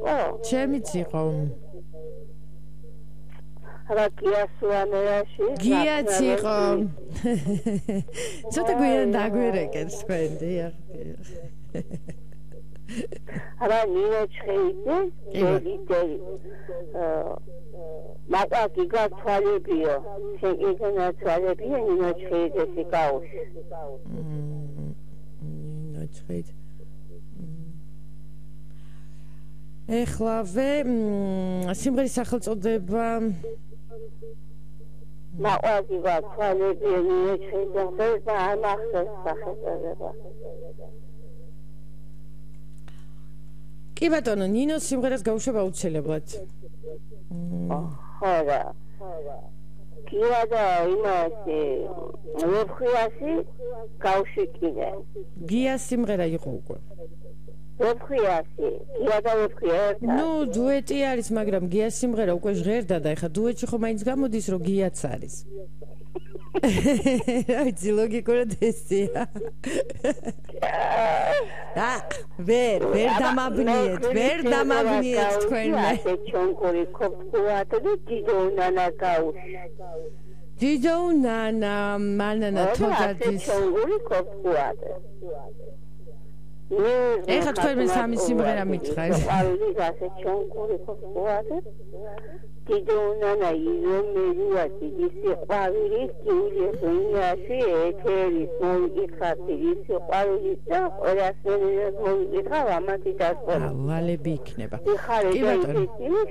იყო? ჩემიც იყო. რა გიასუანერაში? გიაც იყო. ცოტა გვიან დაგვერეკეთ თქვენ, დიახ. რა ნინო ჩხეიძე? დელი. მაგაკი გათვალებიო. შეგეძნა თვალებიო ნინო ჩხეიძეს იკაუში. ნინო ჩხეიძე. ეხლავე სიმღერის სახელწოდება მაგაკი გათვალებიო ნინო ჩხეიძეს და ამახსოვს სახელწოდება. კი ბატონო, ნინოს სიმღერას გაუშვება აუცილებლად. ხარა. კია და იმასე ვეფხიასი გავშიკიდე. გიას სიმღერა იყო უკვე. ვეფხიასი, კია და ვეფხიასი. ნუ დუეტი არის, მაგრამ გიას სიმღერა უკვე ჟღერდა და ეხა დუეტში ხო მაინც გამოდის, რომ გიაც არის. აი, ლოგიკურად ესეა. ვერ დამაბნიეთ თქვენმა. ჩონკური ქოფქუათ და დიდონანა გაუში. დიდონანა, მანანა თოდაძის. ჩონკური ქოფქუათ. ეხა თქვენ სამი სიმღერა მითხრათ. ყვავილი გასე ჩონკური ქოფქუათ. დიდონანა იზომერია დიდი ყვავილი კიულიეს უნიაში ეთერის მოიკითხათ ის ყვავილი და ყველასერია მოიკითხა ამათი დასწორა. ვალები იქნება. კი ბატონო.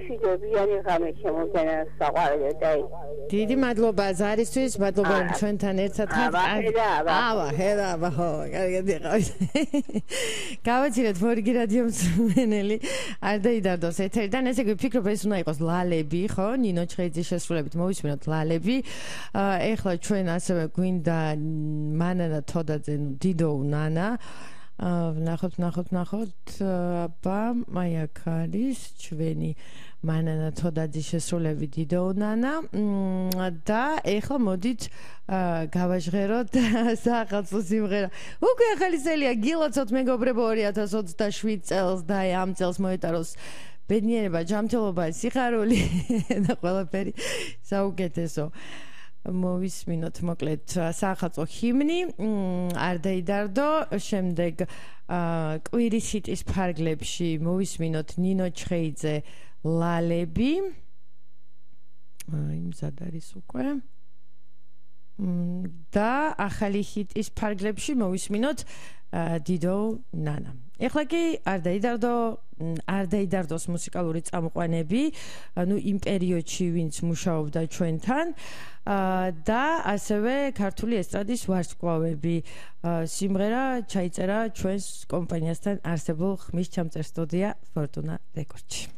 შიდობიანი ღამე შემოგენა საყვარელო და დიდი მადლობა ზარისთვის, მადლობა რომ ჩვენთან ერთად ხართ. ხედავ, ხო, კარგად იყავით. გავაჩინეთ მორიგი რადიო მსმენელი, არ დაიდარდოს ეთერიდან, ესე იგი ვფიქრობ ეს უნდა იყოს ლალები. ხო, ნინო ჩხეიძის შესრულებით მოვისმინოთ ლალები. ეხლა ჩვენ ასევე გვინდა მანანა თოდაძე, დიდო ნანა. ნახოთ. აბა, აი აქ არის ჩვენი მანანა თოდაძის შესრულებით დიდო ნანა. და ეხლა მოდით გავაჟღეროთ სახალხო სიმღერა. უკვე ახალისელია გილოცოთ მეგობრებო 2027 წელს და ამ წელს მოეტაროს ბედნიერება, ჯანმრთელობა, სიხარული და ყველაფერი საუკეთესო. მოვისმინოთ მოკლედ სახალხო ჰიმნი, არ დაიდარდო, შემდეგ კვირის ჰიტის ფარგლებში მოვისმინოთ ნინო ჩხეიძე ლალები. აი, მზად არის უკვე. და ახალი ჰიტის ფარგლებში მოვისმინოთ დიდო ნანა. ეხლა კი არ დაიდარდოს მუსიკალური წამყვანები, ანუ იმ პერიოდში ვინც მუშაობდა ჩვენთან და ასევე ქართული ესტრადის ვარსკვლავები. სიმღერა ჩაიწერა ჩვენს კომპანიასთან არსებულ ხმის ჩამწერ სტუდია ფორტუნა რეკორდში.